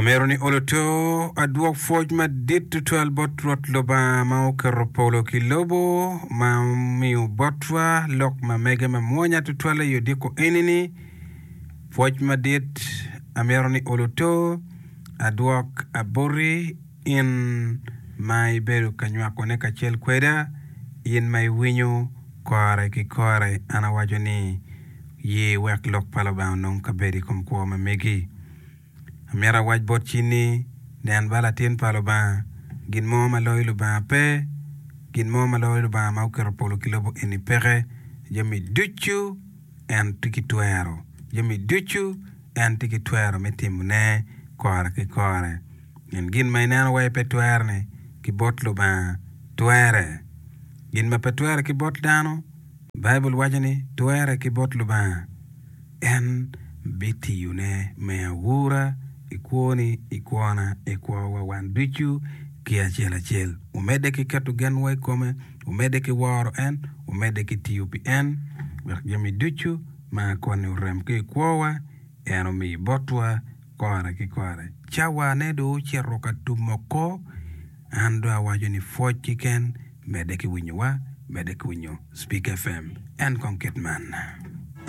Amito ni olo to adwok pwoc madit tutwal bot Rwot Lubanga ma oketo polo ki lobo, ma omiyo botwa lok ma mege mamwonya tutwal i odiko eni-ni. Pwoc madit amito ni olo to adwok aboti in ma ibedo ka nywakone kacel kweda, in ma iwinyo kore ki kore. An awaco ni, Ye wek lok pa Lubanga onong kabedo i kom kwo ma megi. Amito awac bot cin ni, Nen ba Latin pa Lubanga, gin mo ma loyo Lubanga pe, gin mo ma loyo Lubanga ma oketo polo ki lobo eni peke. Jami ducu en tye ki twero, jami ducu en tye ki twero me timone kore ki kore. Pien gin ma ineno wai pe twere-ni ki bot Lubanga twere. Gin ma pe twere ki bot dano, Baibul waco ni twere ki bot Lubanga. En bitiyone me aura i kwoni, i kwona, i kwowa wan ducu ki acel acel. Wumedde ki keto genwa i kome, wumedde ki woro en, wumedde ki tiyo pi en, wek jami ducu ma koni orem ki i kwowa, en omi botwa kore ki kore. Cawane dong ocito ka tum oko, an dong awaco ni pwoc keken, medde ki winyowa, medde ki winyo Speak FM. En kong kit man.